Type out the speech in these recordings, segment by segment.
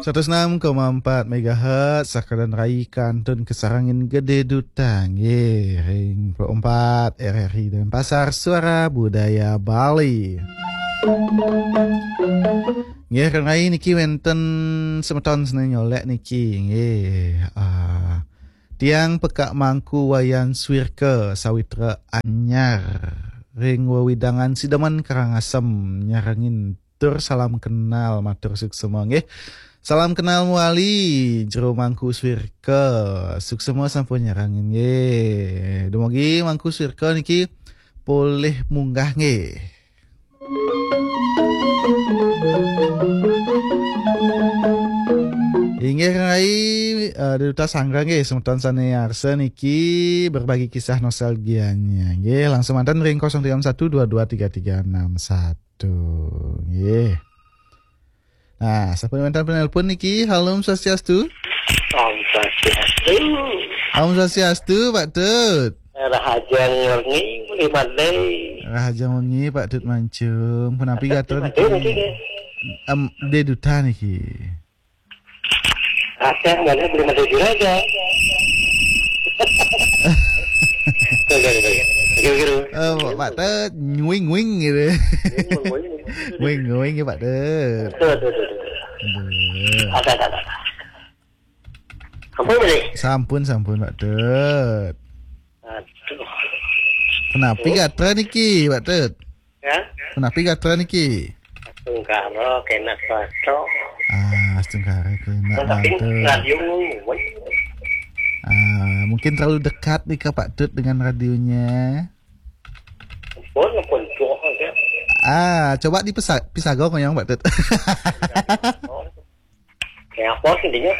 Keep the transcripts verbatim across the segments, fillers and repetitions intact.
Satus enam koma empat megahertz, Sakadan Rai kantun kasarengin Gede Duta, nggih, ring empat R R I Denpasar, Suara Budaya Bali. Nggih, Rai niki wenten semeton sane nyolek niki, nggih. Ah, tiang Pekak Mangku Wayan Swirka Sawitra Anyar ring wewidangan Sidemen Karangasem nyarengin tur salam kenal, matur suksema nggih. Salam kenal mawali Jero Mangku Swirka. Suksema sampun nyarengin nggih. Dumugi Mangku Swirka niki polih munggah nggih. Inggih Rai, eh, Duta Sanggra nggih, semeton sane arsa niki berbagi kisah nostalgianya. Nggih, langsung manten ring kosong tiga satu dua dua tiga tiga enam satu. Nggih. Nah, sampun wenten penelpon niki. Halo, Om Swastiastu. Om Swastiastu. Om Swastiastu, Pak Tut. Rahajeng wengi, Bli Madai. Rahajeng wengi, Pak Tut Mancung. Punapi gatra niki? Madai niki, nggih. Em, Gede Duta niki. Rasa mana Bli Madai Juragan. Oke, oke, oke. Oke, oke. Eh, Pak Tut, nguing-nguing gitu. Nguing-nguing. Nguing-nguing ya, Pak Tut. Aduh, aduh, aduh, aduh. Aduh. Ada, ada, ada. Ampun, Bli. Sampun, sampun, Pak Tut. Aduh. Punapi gatra niki, Pak Tut? Ya? Punapi gatra niki? Astungkara kena swasta. Ah, astungkara kena. Tapi radio ngomong. Ah, mungkin terlalu dekat nih ke Pak Tut dengan radionya. Pun, pun tuh aja. Ah, coba dipesa-, pisaga ngoyong, Pak Tut. Kayak apa sih dia?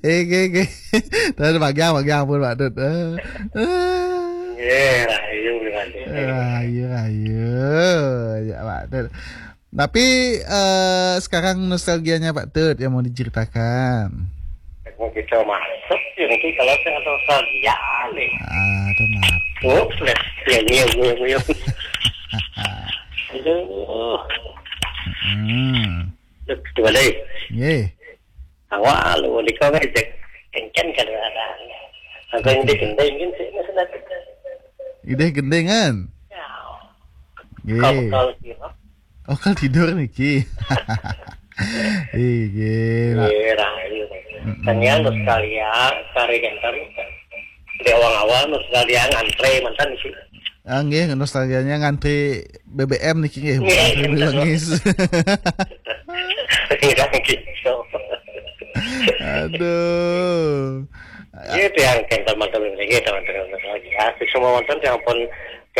Eh, oke, oke. Terus bagi apa, bagi ampun, Pak Tut. Eh, eh. Ya, rahayu, rahayu. Rahayu, rahayu. Ya, Pak Tut. Tapi, eh, sekarang nostalgianya Pak Tut yang mau diceritakan. Mau kita masuk, ya, nanti kalau saya nostalgia nih. Ah, kenapa? Oh, sudah. Ya, ya, ya, ya. Aduh. Hmm. Duh, dua deh. Nggih. Awal, lu nikah kan cek. Kencen kan ada. Apa yang digendeng kan sih, maksudnya. Ideh gendengan. Ya. Nggih. Kalau, kalau kira. Oh, kalau tidur niki. Nggih. Iya, rahayu. Mm-mm. Tanggihan terus kali ya, cari ganteng. Di awal-awal terus kali ya ngantre mantan sih. Ah, nggih, nostalgianya ngantri B B M niki nggih, nggih, ngantri ngantri. Belengis. Iya, gitu. Aduh. Iya, itu yang kan teman-teman ini, teman-teman lagi. Ya, semua mantan yang pun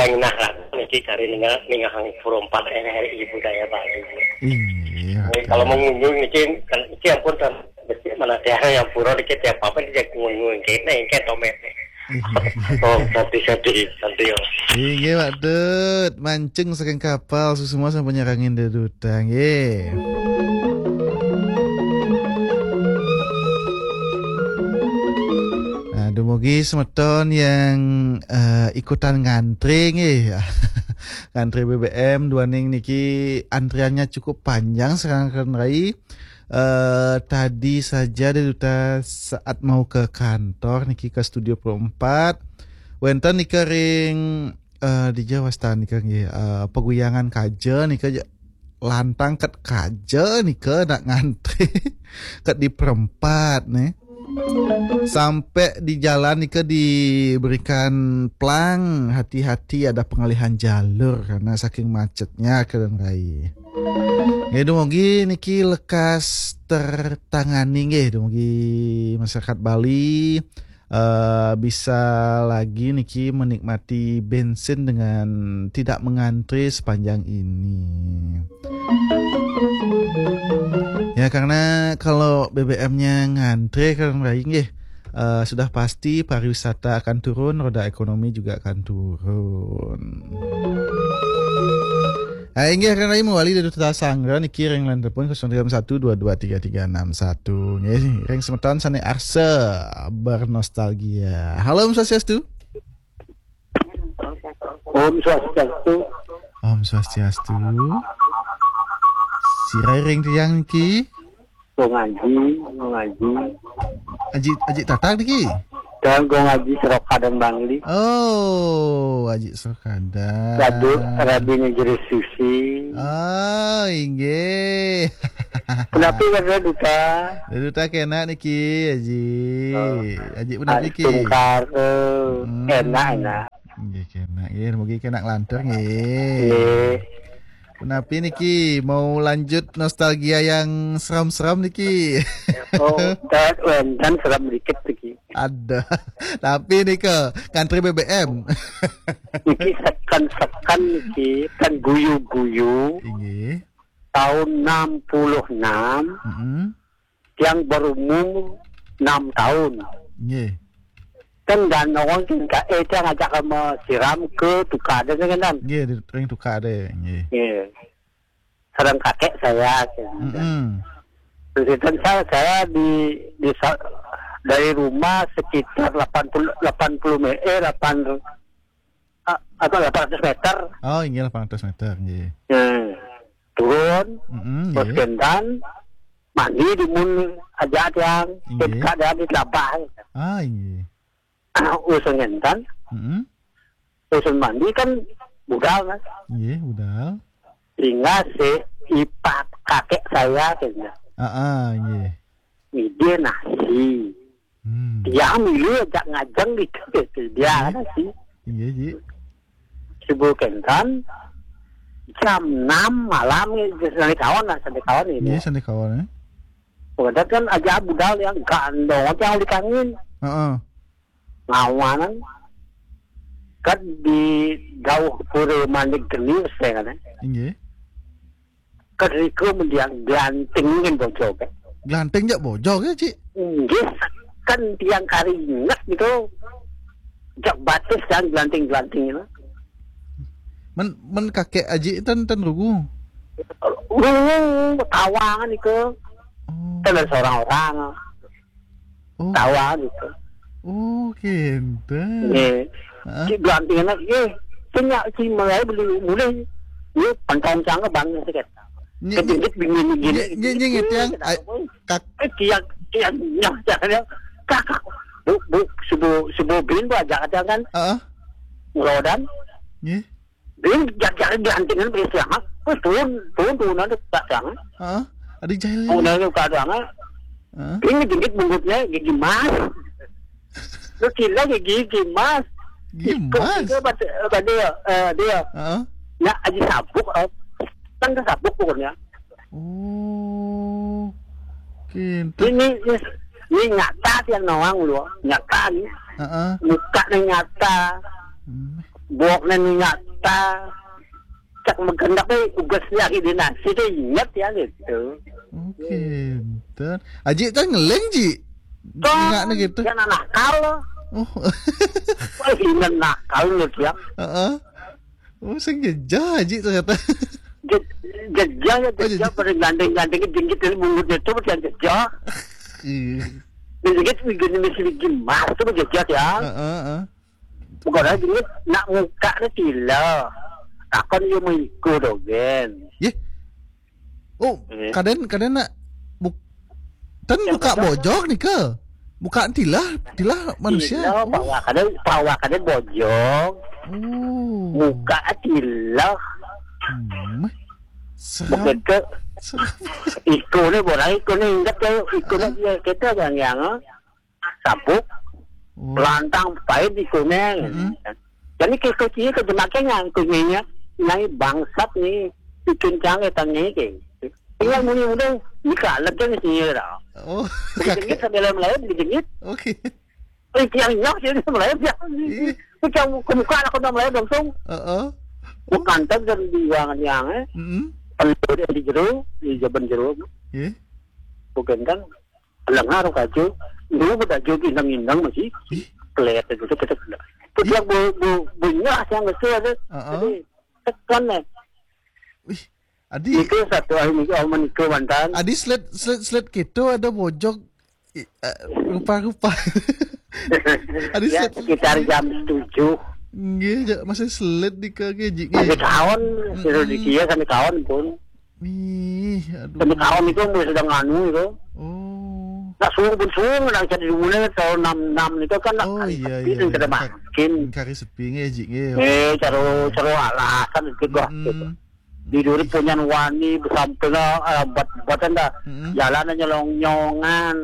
yang nah niki cari ninga ninga hang pura empat R R I Budaya Bali. Iya. Jadi, kalau mengunjung niki kan niki ampun kan mesti mana tiang yang pura dikit ya apa dia mengunjung kene kayak tomet. Iya. Oh, tadi, tadi, tadi, oh. Inggih, Pak Dut. Mancung saking kapal, suksma sampun nyarengin Gede Duta, nggih. Nah, dumugi semeton yang, eh, ikutan ngantri, nggih. Ngantri B B M, duaning niki antriannya cukup panjang sekarang, Rai. Eh, tadi saja Gede Duta saat mau ke kantor niki, ke Studio Pro empat. Wenten nika ring, eh, dija wastan nika nggih, eh, Paguyangan Kaja nika ja-, lantang ket kaja nika nak ngantri ket di perempat nih. Sampai di jalan nika diberikan pelang, hati-hati ada pengalihan jalur karena saking macetnya, Keren Rai. Nggih, dumugi niki lekas tertangani nggih, dumugi masyarakat Bali, eh, bisa lagi niki menikmati bensin dengan tidak mengantri sepanjang ini. Ya, karena kalau B B M-nya ngantri, Keren Rai nggih, eh, sudah pasti pariwisata akan turun, roda ekonomi juga akan turun. Ah, inggih, Keren Rai mawali Gede Duta Sanggra niki ring line telepon kosong tiga satu dua dua tiga tiga enam satu. Nggih, ring semeton sane arsa bernostalgia. Halo, Om Swastiastu. Om Swastiastu. Om Swastiastu. Sira ring tiang niki? Gong Aji, Gong Aji. Aji, Aji Tatang niki? Dan Gong Aji Seroka dan Bangli. Oh, Aji Seroka dan. Radu, Radine Jere Susi. Oh, inggih. Punapi kada Duta? Duta kenak niki, Aji. Oh. Aji punapi niki? Tungkar, eh, Hmm. Enak, enak. Nggih, kenak. Nggih, mugi kenak lantur, nggih. Nggih. Punapi niki, mau lanjut nostalgia yang seram-seram niki? Oh, dah, wénten seram dikit niki. Ada. Tapi nika, ngantri B B M. Niki seken-seken niki, kan guyu-guyu. Inggih. Tahun enam puluh enam, Mm-mm. Tiang berumur enam tahun. Nggih. Kan dan orang kan ka-, eh, tiang ajak sama siram ke tukar ada kan. Nggih, di ring tukar ada. Nggih. Nggih. Sareng kakek saya, kan. Mm-mm. Terus itu saya, saya di, di sa-, dari rumah sekitar delapan puluh, delapan puluh me-, eh, delapan, ah, apa, delapan ratus meter. Oh, inggih, delapan ratus meter, nggih. Nah, turun, Mm-mm, terus nggih. Gentan, mandi di mun aja tiang, Inggih. Ketika ada di telabah. Ah, inggih. Usun gentan, Mm-mm. Usun mandi kan budal, kan? Nggih, budal. Sehingga si ipat kakek saya, kayaknya. Ah, ah, nggih. Ngide nasi. Hmm. Dia milu ajak ngajeng gitu, gitu. Dia Nggih. Nasi. Nggih, Ji. Subuh kentan, jam enam malam, gitu, sandi kawan lah, sandi kawan ini. Nggih, sandi kawan, eh. Pokoknya kan aja budal yang gandong, yang dikangin. Heeh. Ngawanan. Kan di jauh pura manik geni, saya kan, eh. Inggih. Kedriku mendiang glanting kan bojog, kan? Glanting jak bojog ya, Cik? Inggih, kan tiang kari ingat gitu. Jak batis kan glanting-glanting itu. Men, men kakek Aji ten, ten rugu. Rugu, tawangan itu. Oh. Kan ada seorang orang. Oh. Tawangan itu. Oh, kinten. Nggih. Heeh. Cik glanting anak, nggih. Sing nyak si mulai beli mulih. Nggih, pentong cang bang sikit. Nyi-, Kejengit bingung gini. Nyi-, nyi-, nyi-, nyi-, tiang, ai, kak- Eh, tiang, tiang, nyah, tiang, tiang. Kakak, bu, bu, subuh, subuh bin bu ajak tiang kan. Heeh. Ngelodan. Nggih. Bin, jak-, jak, diantingin beli siang, ah. Wis, turun, turun, turun, ada tak siang, ah. Heeh. Ada jahil. Turun, ada tak siang, ah. Heeh. Bin ngejengit bungkutnya, gigi mas. Lu kira gigi, gigi mas. Gigi mas? Itu, itu, pada, pada, eh, dia. Heeh. Ya, aja sabuk, eh. Kan ke sabuk pokoknya. Oh. Kinten. Ini, ini, ini nyata tiang nawang lu, nyata ni. Heeh. Muka ni nyata. Hmm. Buak ni nyata. Cak mengkendak ni ugas ni hari dia nasi tu ingat ya gitu. Oh, kinten. Aji tu ngeling, Ji? Kan, ingat ni gitu. Kan nakal lah. Oh. Wah, ingat nakal ni dia. Heeh. Oh, sing jejah, Ji, ternyata. Je-, jejah ya, Oh, jejah jejah. Pada gandeng-gandeng jengkit dari mulutnya tu macam jejah. Iya. Jengkit begini mesti gimana tu jejah ya. Heeh, heeh. Bukan lagi jengkit nak muka ni tila. Takkan dia mau ikut dogen. Ye? Oh, Eh. Kaden, kaden nak buk-, ten Yang buka bojog. Bojog ni ke? Buka tilah, tilah manusia. Tilah, Oh. Pawa kaden, pawa kaden bojog. Oh. Muka tilah. Hmm. Seram. Bukan ke Seram. Iko ni, borai iko ni, ingat ke, iko ni Ah. Dia, kita yang, yang, ah. Sabuk, Oh. Lantang pahit di kuning. Mm-mm. Jadi ke kucing ke jemak ke nyang kucingnya, nyai bangsat ni, bikin cang ke tang nyai ke. Tinggal muni muda, ni kalah ke ni sini dah. Oh, Dijengit kakek. Sambil lain, dijengit. Oke. Eh, tiang nyok sini melayu ya. Ih. Kucing kemuka lah kena melayu langsung. Heeh. Bukan tak dan di ruangan yang, eh. Mm-mm. Perlu dia di jero, di jaban jero. Iya. Bukan kan? Lengar kaju, dulu pada jo indang-indang masih Ih. Kelihatan gitu, kita kena. Ih. Dia bu, bu, bunyi lah yang betul ada. Heeh. Jadi, tekan eh. Wih, Adi. Itu satu hari ni, oh, menikah mantan. Adi sled, sled, sled gitu ada bojog. I-, eh, rupa-rupa. Adi Ya, sled. Sekitar jam tujuh. Nggih, ja-, masih sled di ke, ke, ji-, Masih nggih. Kawan, Mm-mm. Suruh di dia sampai kawan pun. Ih, aduh. Tapi tahun itu mulai sedang anu itu. Oh. Nak suung pun suung nak jadi dunia tahun enam enam itu kan nak Oh kari iya sepi iya. dan kada Iya. makin. Kari sepi nggih, Ji, nggih. Eh, caro caro alasan itu bah. Gitu. Mm-mm. Di dulu punyan wani besamping lah, eh, buat buatan dah. Mm-mm. Jalan nyelong nyongan.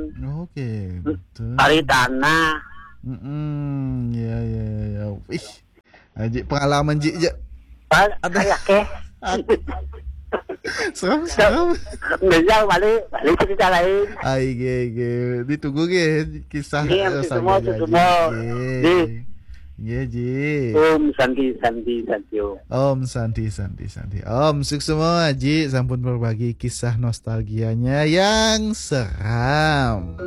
Oke, betul. Cari tanah. Mm-mm. Ya ya ya ya. Ih. Aji pengalaman Ji je. Pas Ada. Kayak ke. Serem serem. Misal balik balik cerita lain. Ai ge ge. Ditunggu ge kisah Iya, eh, itu saya semua, itu Ji. semua. Ge. Di. Ge Ji. Om Santi Santi Santi Om. Om Santi Santi Santi. Om sukses semua Ji sampun berbagi kisah nostalgianya yang seram.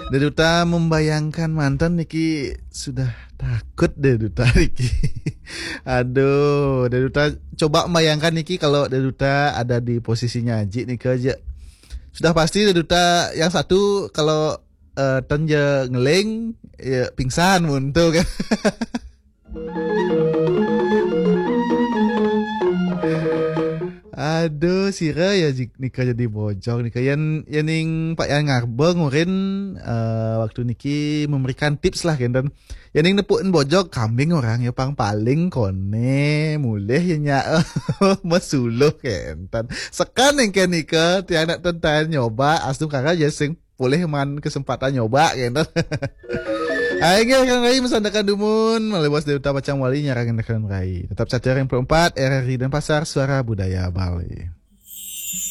Deduta membayangkan mantan niki sudah takut Deduta niki. Aduh, Deduta coba membayangkan niki kalau Deduta ada di posisinya Aji nika aja. Sudah pasti Deduta yang satu kalau eh, ten je ngeling ya pingsan mun tu kan. Aduh, sira ya Ji- nika jadi bojong nika. Yan yaning Pak Yan Ngarba ngurin eh, waktu niki memberikan tips lah kenten. Yaning nepukin bojong kambing orang ya pang paling kone mulih ya nya mesuluh kenten. Sekan yang ke nika tiang nak tentang nyoba astung kara ya sing boleh man kesempatan nyoba kenten. Ayo nggih kang Rai mesandakan dumun malih bos Deduta Pacang Wali nyarangin kang Rai. Tetap cacar yang empat R R I Denpasar Suara Budaya Bali.